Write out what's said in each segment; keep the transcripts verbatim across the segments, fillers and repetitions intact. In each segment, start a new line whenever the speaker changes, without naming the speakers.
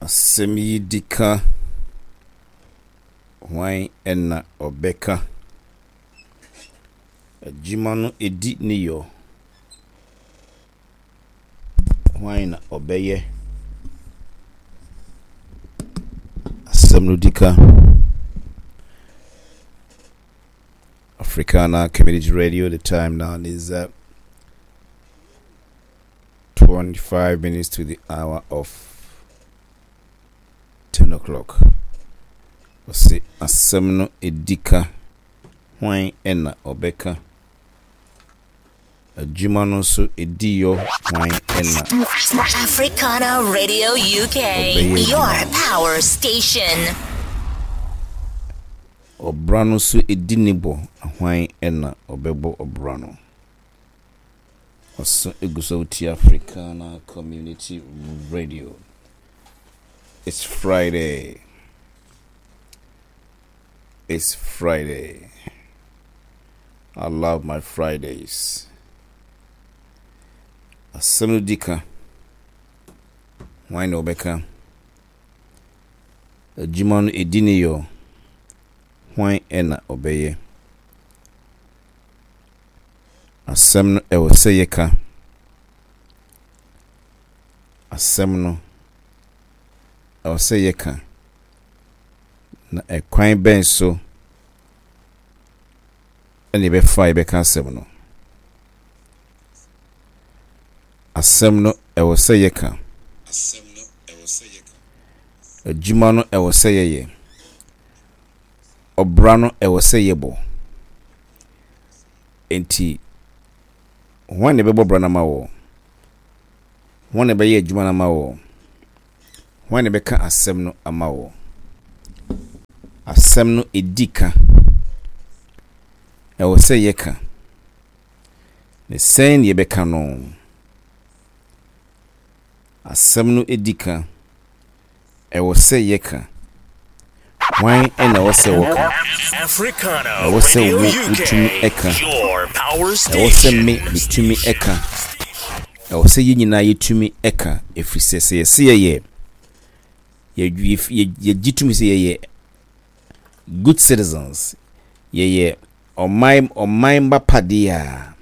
Asɛm yi di ka, hwan na ɔbɛka? Adwuma no di ne yɔ, hwan na ɔbɛyɛ? Asɛm no di ka. Africana Community Radio, the time now is uh, twenty-five minutes to the hour of ten o'clock. Ɔse asɛm no edi ka, hwan na ɔbɛka? Adwuma no nso edi yɔ, hwan na
Africana Radio U K,
ɔbɛyɛ
your
adwuma no?
Power station.
Ɔbra no nso edi ne bɔ, hwan na ɔbɛbɔ ɔbra no? Ɔso egu so wotie Africana Community Radio. It's Friday. It's Friday. I love my Fridays. Asɛm no di ka, hwan na ɔbɛka? Adwuma no edi ne yɔ, hwan na ɔbɛyɛ? Asɛm no ɛwɔ sɛ yɛka. Asɛm no ɛwɔ sɛ yɛka. Na ɛkwan bɛn so ɛna yɛbɛfa a yɛbɛka asɛm no? Asɛm no ɛwɔ sɛ yɛka. Adwuma no ɛwɔ sɛ yɛyɛ. Ɔbra no ɛwɔ sɛ yɛbɔ. Enti hwan na ɛbɛbɔ bra no ama wɔ? Hwan na ɛbɛyɛ adwuma no ama wɔ? Hwan na ɛbɛka asɛm no ama wɔ? Asɛm no edi ka. Ɛwɔ sɛ yɛka. Na sɛn na yɛbɛka no? Asɛm no edi ka. Ɛwɔ sɛ yɛka. Hwan na ɛwɔ sɛ wɔka?
Africana
Ɛwɔ sɛ
Radio
wo wotumi
U K,
ɛka.
your power
Ɛwɔ sɛ me
station.
metumi ɛka. Ɛwɔ sɛ yɛn nyinaa yɛtumi ɛka, ɛfiri sɛ sɛ yɛsɛ yɛyɛ yɛ- yɛ- yɛgye tumi sɛ yɛyɛ good citizens, yɛyɛ ɔman ɔman ba padeɛ a,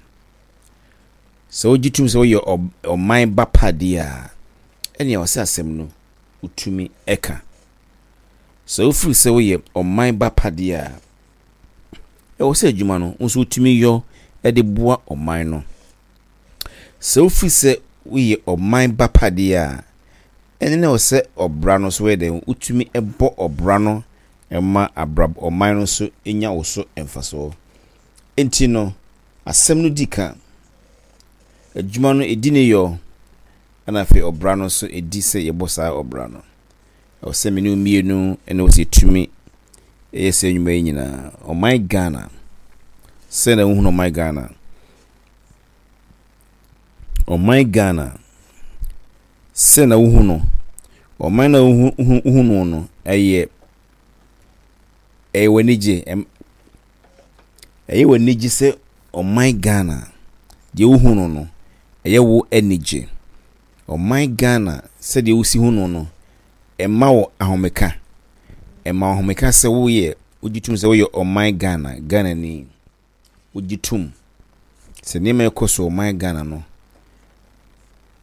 sɛ wogye tumi sɛ woyɛ ɔ- ɔman ba padeɛ a, ɛnea ɛwɔ sɛ asɛm no wotumi ɛka. Sɛ wofiri sɛ woyɛ ɔman ba padeɛ a, ɛwɔ sɛ adwuma no wo nso wotumi yɔ de boa ɔman no. Sɛ wofiri sɛ woyɛ ɔman ba padeɛ a, ɛne na ɛwɔ sɛ ɔbra no so wɔyɛ dɛn, wotumi bɔ ɔbra no ma abra ɔman no nso nya wo so mfasoɔ. Nti no asɛm no di ka, adwuma no ɛdi ne yɔ, ɛna afei ɔbra no nso ɛdi sɛ yɛbɔ saa ɔbra no. Ɛwɔ sɛ me ne wo mmienu ɛna wɔ sɛ yɛtumi ɛyɛ sɛ nnwuma yi nyinaa. Ɔman Ghana, sɛ na wohunu ɔman Ghana, ɔman Ghana sɛ na wohu no, ɔman na wohu wohu no no ɛyɛ ɛyɛ w'anigye, ɛm ɛyɛ w'anigye sɛ ɔman Ghana deɛ wohu no no ɛyɛ wo anigye. Ɔman Ghana, sɛdeɛ wosi hu no no ɛma wo ahomeka, ɛma wo ahomeka sɛ woyɛ, wogye tom sɛ woyɛ ɔman Ghana, Ghanani. Wogye tom sɛ nneɛma ɛkɔ so ɔman Ghana no,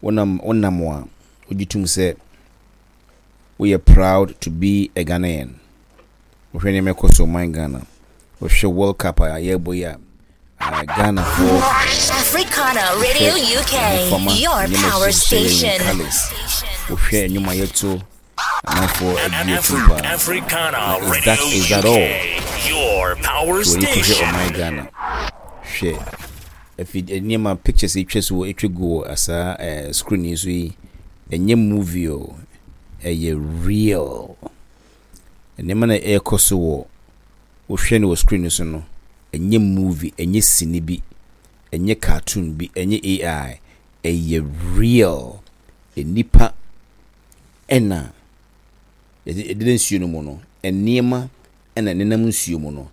wonam wonam a wogye tom sɛ woyɛ proud to be a Ghanaian. Wohwɛ nneɛma ɛkɔ so ɔman Ghana, wohwɛ World Cup a yɛrebɔ yi a, ah, Ghanafoɔ
Africana Radio U K, your power station.
Colours, wohwɛ nnwom a yɛto, amanfoɔ agye atum paa.
Africana
Na is
Radio
that is that all?
U K, your power
Wɔ yi kɔhwɛ
station.
ɔman Ghana, hwɛ afi nneɛma, pictures atwa so wɔ atwa gu wɔ asaa ɛɛ screen yi so yi, ɛnyɛ movie o, ɛyɛ real. Nneɛma na ɛrekɔ so wɔ wohwɛ no wɔ screen no so no, ɛnyɛ movie, ɛnyɛ sini bi, ɛnyɛ cartoon bi, ɛnyɛ A I, ɛyɛ real. Nnipa ɛna yɛde yɛde nsuo no mu no, nneɛma ɛna nenam nsuo mu no,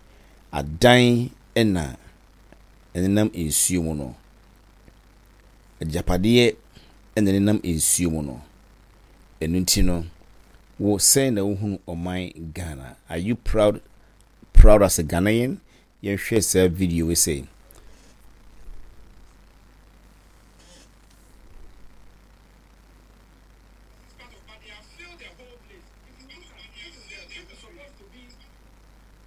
adan ɛna ɛnenam nsuo mu no, agyapadeɛ ɛna nenam nsuo mu no. Ɛno nti no Wo sɛn na wohunu ɔman Ghana? Are you proud proud as a Ghanaian? Yɛnhwɛ saa video wei sei.
But they have filled the whole place. If you look at this, is the, this is supposed to be